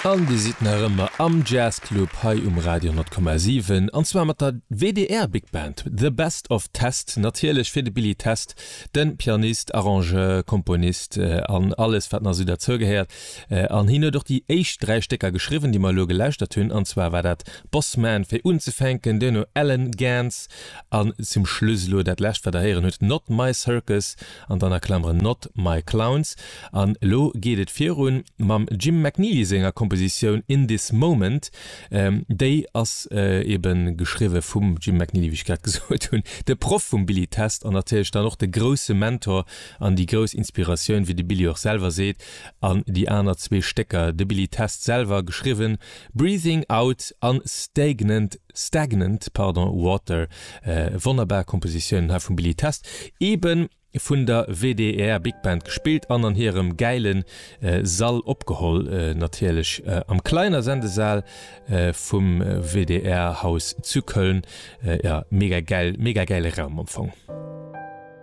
An Dir sidd nach ëmmer am Jazz Club hei um Radio 10,7 an zwar mat der WDR Big Band, The Best of Test, natierlech fir de Billy Test, de Pianist, Arrangeur, Komponist an alles wat nach esou derzou gehéiert. An hien huet och déi éischt 3 Stécker geschriwwen, déi mer elo gelauschtert hunn, an zwar war dat Boss Man fir unzefänken, duerno Allen Gans an zum Schluss elo dat lescht wat der héieren hutt, Not My Circus an dann a Klammeren Not My Clowns. An elo geet et virun mam Jim McNeely senger Kompositioun In This Moment. Déi ass ebe geschriwwe vum Jim McNeely, wéi ech grad gesot hunn, de Proff vum Billy Test an natierlech dann och de grousse Mentor an déi grouss Inspiratioun, wéi de Billy och selwer seet. An déi aner zwee Stécker, de Billy Test selwer geschriwwen, Breathing Out an Stagnant, Stagnant, pardon, Water, wonnerbar Kompositiounen hei vum Billy Test, eben vun der WDR Big Band gespillt an an hirem gäile Sall opgeholl, natierlech am Kleiner Sendesaal vum WDR Haus zu Köln. Jo, mega gäil, mega gäile Raum am Fong.